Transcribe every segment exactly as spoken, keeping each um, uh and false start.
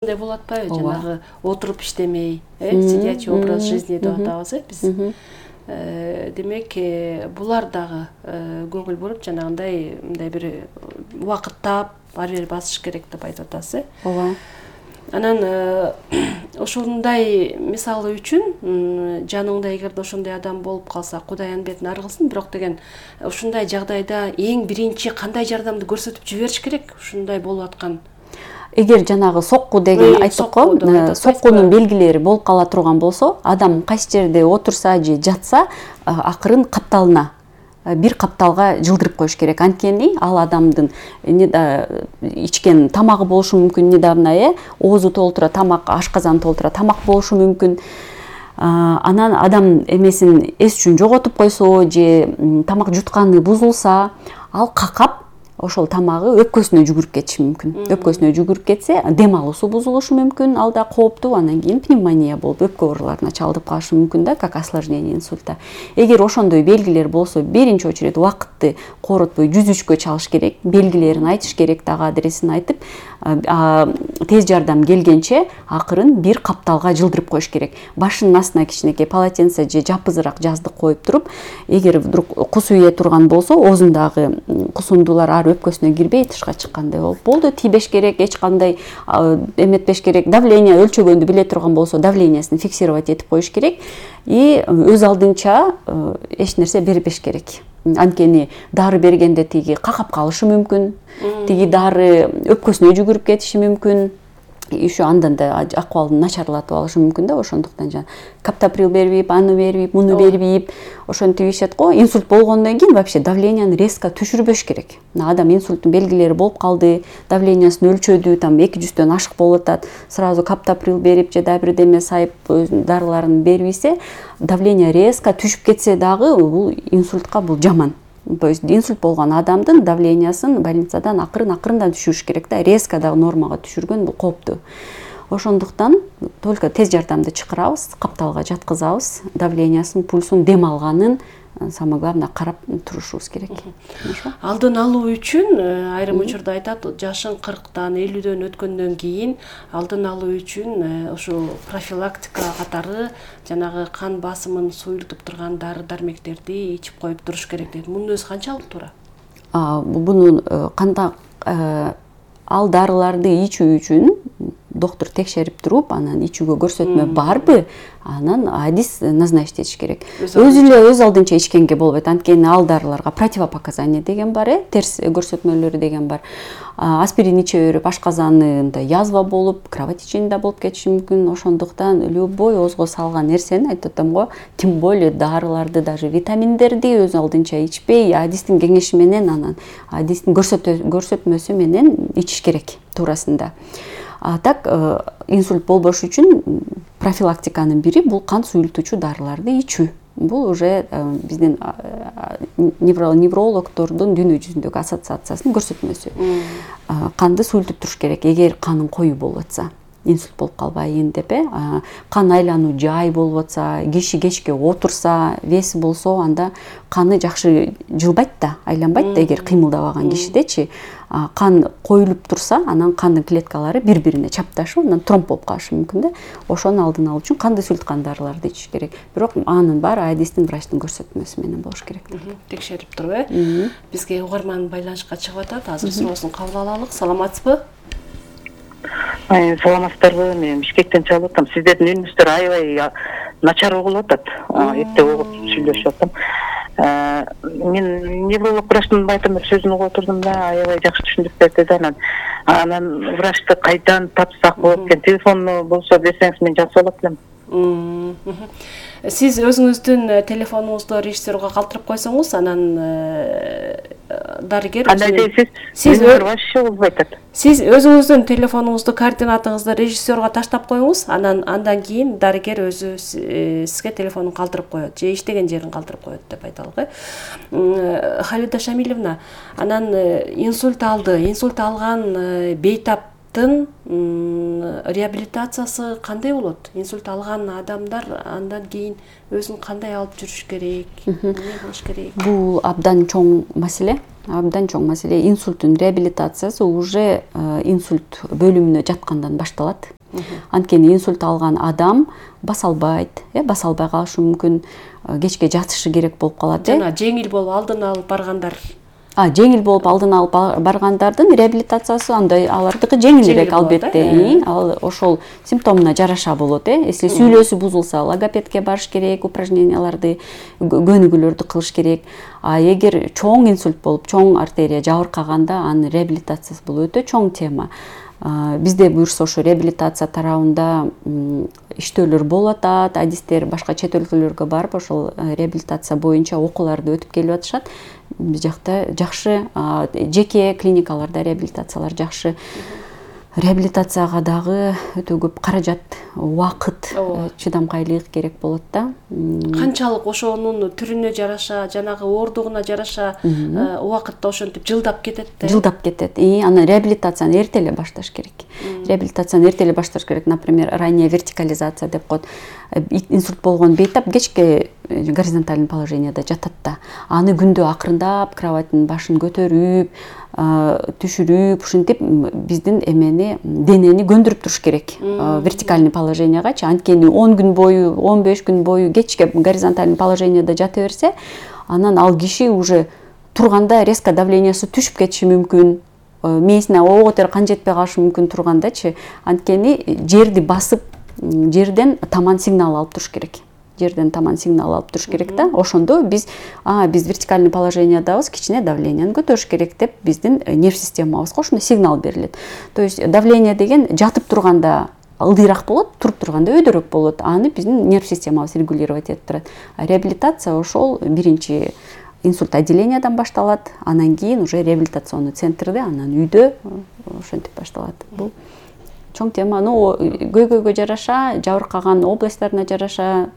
Мындай болуп атпайбы, жанагы отуруп иштемей, э, сидячий образ жизни деп атабыз, э, биз. Демек, булар дагы көңүл буруп, жанагындай мындай бир убакыттап, ары бери басыш керек деп айтып атасыз, э? Ооба. Анан ошондой мисалы үчүн жаныңда эгерде ошондой адам болуп калса, Кудай бетин ары кылсын, бирок деген ушундай жагдайда эң биринчи кандай жардамды көрсөтүп жибериш керек? Ушундай болуп аткан. Эгер жанагы сокку деген айттык го, соккунун белгилери болуп кала турган болсо, адам кайсы жерде отурса же жатса, акырын капталына, бир капталга жылдырып коюш керек. Анткени ал адамдын ичкен тамагы болушу мүмкүн, недавно, э, оозу толтура, тамак, ашказаны толтура тамак болушу мүмкүн. Анан адам эмесин эс үчүн жоготуп койсо же тамак жутканы бузулса, ал какап ошол тамагы өпкөсүнө жүгүрүп кетиши мүмкүн. Өпкөсүнө жүгүрүп кетсе, дем алуусу бузулушу мүмкүн, ал да кооптуу, анан кийин пневмония болуп, өпкө ооруларына чалдып калышы мүмкүн да, как осложнение инсульта. Эгер ошондой белгилер болсо, биринчи очередь убакытты коротпой жүз үчкө чалыш керек, белгилерин айтыш керек, дагы адресин айтып, тез жардам келгенче акырын бир капталга жылдырып коюш керек. Башынын астына кичинекей полотенце же жапызыраак жаздык коюп туруп, эгер вдруг кус үйө турган болсо, оозундагы кусундуулар ары өпкөсүнө кирбей тышка чыккандай болуп, болду, тийбеш керек, эч кандай эметпеш керек. Давление өлчөгөндү биле турган болсо, давлениясын фиксировать этип коюш керек и өз алдынча эч нерсе бербеш керек. Анткени дары бергенде тиги какап калышы мүмкүн, тиги дары өпкөсүнө жүгүрүп кетиши мүмкүн. Еще андан да акыбалын начарлатып алышы мүмкүн да, ошондуктан жана каптоприл бербейип, аны бербейип, муну бербейип, ошентип ийишет го. Инсульт болгондон кийин вообще давленияны резко түшүрбөш керек. Адам инсульттун белгилери болуп калды, давлениясын өлчөдү, там эки жүздөн ашык болуп атат, сразу каптоприл берип же дагы бирдеме сайып дарыларын бербейсе, давление резко түшүп кетсе дагы бул инсультка бул жаман. То есть инсульт болгон адамдын давлениясын больницадан акырын-акырындан түшүрүш керек да, резко дагы нормага түшүргөн бул кооптуу. Ошондуктан только тез жардамды чакырабыз, капталга жаткызабыз, давлениясын, пульсун, дем алганын, самое главное карап турушубуз керек. Алдын алуу үчүн айрым учурда айтат, жашың кырктан, элүүдөн өткөндөн кийин алдын алуу үчүн ошо профилактика катары жанагы кан басымын суйултуп турган дары-дармектерди ичип коюп туруш керек дейт. Мунун өзү канчалык туура? Бунун кандай ал дарыларды ичүү үчүн доктор текшерип туруп, анан ичүүгө көрсөтмө барбы, анан адис назначить этиш керек. Өзү эле өз алдынча ичкенге болбойт, анткени ал дарыларга противопоказание деген бар, э, терс көрсөтмөлөрү деген бар. Аспирин иче берип, ашказанында язва болуп, кровотечение болуп кетиши мүмкүн. Ошондуктан любой оозго салган нерсени, айтып атам го, тем более дарыларды, даже витаминдерди өз алдынча ичпей, адистин кеңеши менен, анан адистин көрсөтмөсү менен ичиш керек туурасында. А так инсульт болбош үчүн профилактиканын бири бул кан суюлтуучу дарыларды ичүү. Бул уже биздин неврологдордун дүйнө жүзүндөгү ассоциациясынын көрсөтмөсү. Канды суюлтуп туруш керек, эгер канын коюу болуп атса, инсульт болуп калбайын деп, кан айлануу жай болуп атса, киши кечке отурса, веси болсо, анда каны жакшы жылбайт да, айланбайт да, эгер кыймылдабаган кишидечи. Кан коюлуп турса, анан кандын клеткалары бири-бирине чапташып, анан тромб болуп калышы мүмкүн да. Ошону алдын алуу үчүн канды суюлткан дарыларды ичиш керек. Бирок анын баары адистин, врачтын көрсөтмөсү менен болуш керек. Текшерип туруп, э? Бизге угарман байланышка чыгып атат. Азыр суроосун кабыл алалык. Саламатсызбы? Саламатсыздарбы? Мен Бишкектен чалып атам. Сиздердин үнүңүздөр аябай начар угулуп атат. Эрте угуп сүйлөшүп атам. Мен невролог врачтын айтам сөзүн угуп отурдум да, аябай жакшы түшүндүрүп берди да. Анан анан врачты кайдан тапсак болот экен? Телефону болсо берсеңиз мен жазып алат элем. Сиз өзүңүздүн телефонуңузду режиссерге калтырып койсоңуз, анан дарыгер сиз вообще болбойт. Сиз өзүңүздүн телефонуңузду, координатыңызды режиссерге таштап коюңуз, анан андан кийин дарыгер өзү сизге телефонун калтырып коет, же иштеген жерин калтырып коет деп айталык, э. Халида Шамилевна, анан инсульт алды, инсульт алган бейтап реабилитациясы кандай болот? Инсульт алган адамдар андан кийин өзүн кандай алып жүрүш керек? Эмне кылыш керек? Бул абдан чоң маселе. абдан чоң маселе. Инсульттун реабилитациясы уже инсульт бөлүмүнө жаткандан башталат. Анткени инсульт алган адам баса албайт, э баса албай калышы мүмкүн, кечке жатышы керек болуп калат. Жана жеңил болуп алдын алып баргандар. А, жеңил болуп алдын алып баргандардын реабилитациясы андай алардыкы жеңилирээк албетте. Ал ошол симптомуна жараша болот, э. Если сүйлөөсү бузулса, логопедке барыш керек, упражненияларды, көнүгүүлөрдү кылыш керек. А эгер чоң инсульт болуп, чоң артерия жабыркаганда, анын реабилитациясы бул өтө чоң тема. Бизде буюрса ошо реабилитация тарабында иштөөлөр болуп атат, адистер башка чет өлкөлөргө барып ошол реабилитация боюнча окууларды өтүп келип атышат. Биз жакта жакшы жеке клиникаларда реабилитациялар жакшы. Реабилитацияга дагы өтө көп каражат, убакыт, чыдамкайлык керек болот да. Канчалык ошонун түрүнө жараша, жанагы оордугуна жараша убакытта ошентип жылдап кетет да. Жылдап кетет. И анан реабилитацияны эрте эле башташ керек. Реабилитацияны эрте эле башташ керек. Например, ранняя вертикализация деп коет. Инсульт болгон бейтап кечке горизонтальный положенияда жатат да. Аны күндө акырындап кроваттын башын көтөрүп, түшүрүп, ушинтип биздин эмени, денени көндүрүп туруш керек вертикальный положениягачы. Анткени он күн бою, он беш күн бою кечке горизонтальный положенияда жата берсе, анан ал киши уже турганда резко давлениясы түшүп кетиши мүмкүн. Мээсине ого котор кан жетпей калышы мүмкүн тургандачы. Анткени жерди басып, жерден таман сигнал алып туруш керек. Жерден таман сигнал алып туруш керек да. Ошондо биз а биз вертикальный положениядабыз, кичине давленияны көтөрүш керек деп биздин нерв системабызга ошондой сигнал берилет. То есть давление деген жатып турганда ылдыйраак болот, туруп турганда өйдөрөөк болот. Аны биздин нерв системабыз регулировать этип турат. А реабилитация ошол биринчи инсульт отделениядан башталат, анан кийин уже реабилитационный центрде, анан үйдө ошентип башталат. Бул чоң тема. Ну, көйгөйгө жараша, жабыркаган областтарына жараша,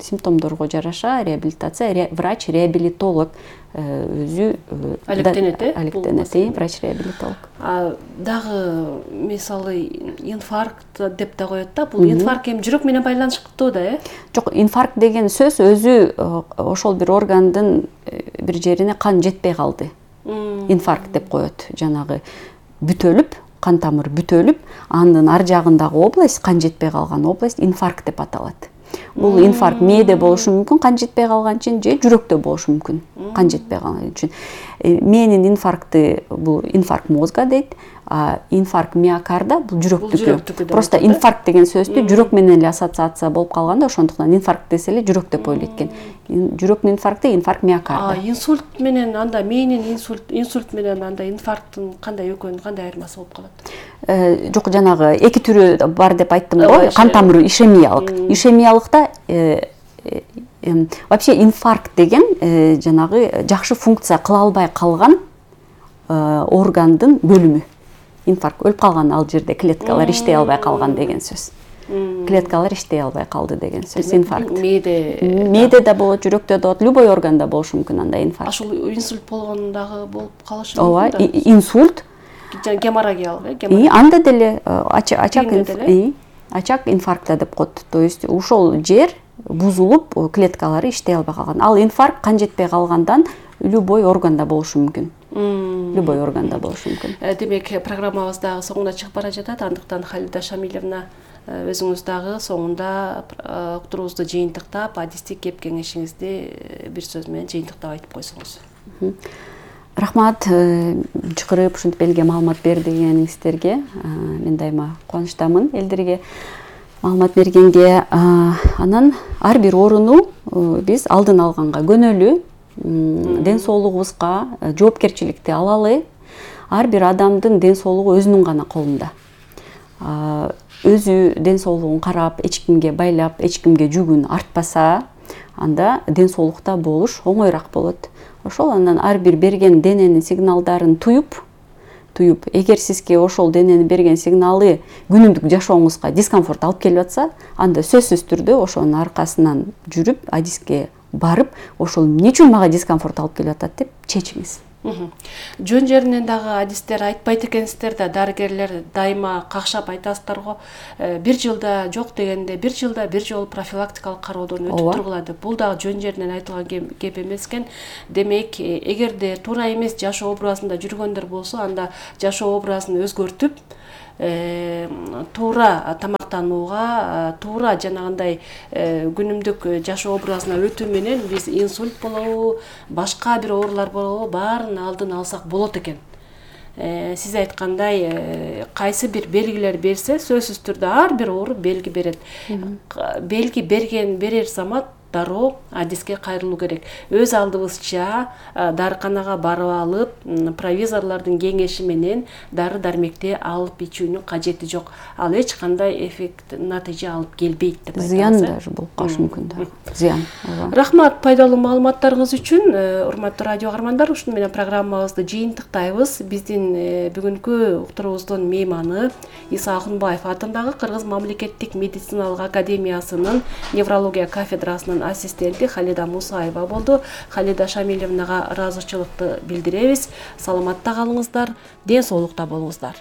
симптомдорго жараша реабилитация, врач-реабилитолог өзү алектенет, э? Алектенет, врач-реабилитолог. А дагы мисалы инфаркт деп да коет да. Бул инфаркт эми жүрөк менен байланыштуу да, э? Жок, инфаркт деген сөз өзү ошол бир органдын бир жерине кан жетпей калды. Инфаркт деп коет. Жанагы бүтөлүп, кан тамыры бүтөлүп, анын ар жагындагы область, кан жетпей калган область инфаркт деп аталат. Бул инфаркт мээде болушу мүмкүн, кан жетпей калган үчүн, же жүрөктө болушу мүмкүн, кан жетпей калган үчүн. Мээнин инфаркты бул инфаркт мозга дейт, а инфаркт миокарда бул жүрөктүкү. Просто инфаркт деген сөздү жүрөк менен эле ассоциация болуп калганда, ошондуктан инфаркт десе эле жүрөк деп ойлойт экен. Жүрөктүн инфаркты инфаркт миокарда. А инсульт менен анда мээнин инсульт, инсульт менен анда инфаркттын кандай экөөнүн кандай айырмасы болуп калат? Жок, жанагы эки түрү бар деп айттым го, кан тамыры ишемиялык. Ишемиялыкта вообще инфаркт деген жанагы жакшы функция кыла албай калган органдын бөлүмү. Инфаркт өлүп калган, ал жерде клеткалар иштей албай калган деген сөз. Клеткалар иштей албай калды деген сөз. Инфаркт. Мээде мээде да болот, жүрөктө да болот, любой органда болушу мүмкүн анда инфаркт. Ошол инсульт болгондагы болуп калышы мүмкүн. Ооба, инсульт геморрагиялык, э? Анда деле ачак ачак инфаркта деп коет. То есть ушол жер бузулуп, клеткалары иштей албай калган. Ал инфаркт кан жетпей калгандан любой органда болушу мүмкүн. Любой органда болушу мүмкүн. Демек, программабыз дагы соңуна чыгып бара жатат. Андыктан Халида Шамилевна, өзүңүз дагы соңунда уктуруубузду жыйынтыктап, адистик кеп кеңешиңизди бир сөз менен жыйынтыктап айтып койсоңуз. Рахмат, чакырып ушинтип элге маалымат бергениңиздерге. Мен дайыма кубанычтамын элдерге маалымат бергенге. Анан ар бир ооруну биз алдын алганга көнөлү, ден соолугубузга жоопкерчиликти алалы. Ар бир адамдын ден соолугу өзүнүн гана колунда. Өзү ден соолугун карап, эч кимге байлап, эч кимге жүгүн артпаса, анда ден соолукта болуш оңоюраак болот. Ошол андан ар бир берген дененин сигналдарын туюп, туюп, эгер сизге ошол дененин берген сигналы күнүмдүк жашооңузга дискомфорт алып келип атса, анда сөзсүз түрдө ошонун аркасынан жүрүп, адиске барып, ошол эмне үчүн мага дискомфорт алып келип атат деп чечиңиз. Жөн жеринен дагы адистер айтпайт экенсиздер да, дарыгерлер дайыма какшап айтасыздар го. Бир жылда жок дегенде бир жылда бир жолу профилактикалык кароодон өтүп тургула деп. Бул дагы жөн жеринен айтылган кеп эмес экен. Демек, эгерде туура эмес жашоо образында жүргөндөр болсо, анда жашоо образын өзгөртүп, туура тамактанууга, туура жанагындай күнүмдүк жашоо образына өтүү менен биз инсульт болобу, башка бир оорулар болобу, баарын алдын алсак болот экен. Сиз айткандай, кайсы бир белгилер берсе, сөзсүз түрдө ар бир оору белги берет. Белги берген берер замат дароо адиске кайрылуу керек. Өз алдыбызча дарыканага барып алып, провизорлордун кеңеши менен дары дармекти алып ичүүнүн кажети жок. Ал эч кандай эффект, натыйжа алып келбейт деп айтабыз. Зыян даже болуш мүмкүн да. Зыян. Рахмат пайдалуу маалыматтарыңыз үчүн. Урматтуу радио каармандар, ушуну менен программабызды жыйынтыктайбыз. Биздин бүгүнкү уктуруубуздун мейманы Иса Акунбаев атындагы Кыргыз мамлекеттик медициналык академиясынын неврология кафедрасынын ассистенти Халида Мусаева болду. Халида Шамилевнага ыраазычылыкты билдиребиз. Саламатта калыңыздар, ден соолукта болуңуздар.